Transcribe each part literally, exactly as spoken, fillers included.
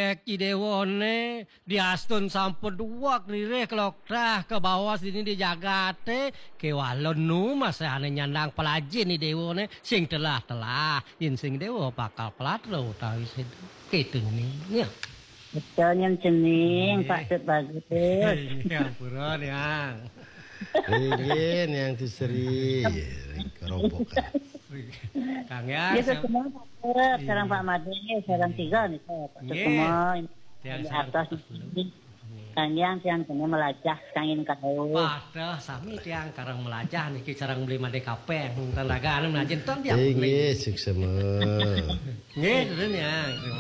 Ki déwané diastun sampun duweg ririh kloktrah ka bawah sini di jagaté, kéwala nu masih ané nyandang pelajin i déwané, sing telah-telah, yén sing déwa bakal pelatra utawi sida. Kéto niki. Ya. Betul, nyén cening, Pak Tut Bagus. Nggih, ampura, Yang. Inggih, Yang Tisri. Kerobokan. Kang Yang, Nggih, sareng semua, Pak Tut, sareng Pak Madé, sareng tiga nih, Pak Tut semua. Tiang di sareng atas Pak Tut dulu. Nggih. Kang Yang, tiang kena melajah, kangin kau. Padah sami tiang karang melajah niki sareng Beli Madé Kapéng. Tandagane melajah, ton tiang. Inggih, suksema. Nggih, nuhun ya. Nggih,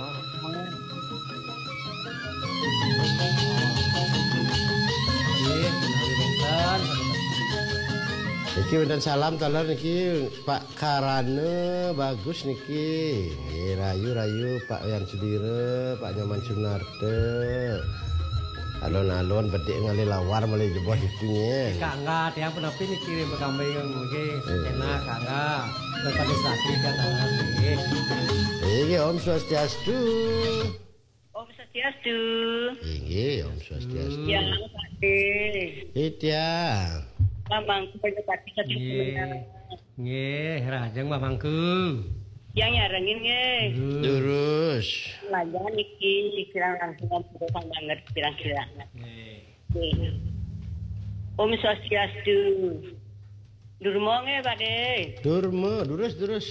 menawi wénten. Niki wénten salam taler niki Pak Karana Bagus niki. Nggih, rayu-rayu Pak Yan Sudira, Pak Nyoman Sunarta. Alon-alon bedik ngalih lawar malih jebos niki nggih. Kangga, tiang punapi niki ring pakambing nggih. Nggih. Enak, kangga. Lepas sakit kan tangan nggih. Nggih, Om Swastiastu. Om Swastiastu. Inggih, Om Swastiastu. Ya, Pak De. Nggih, tiang. Mamangku Bajapati satu Nggih. Sebentar. Nggih, rahajeng mamangku. Yang nyarengin nggih. Durus. Lajang niki kirang langkung ampura banget kirang-kirang. Nggih. Nggih. Om Swastiastu. Durma nggih, Pak De. Durma, durus, durus.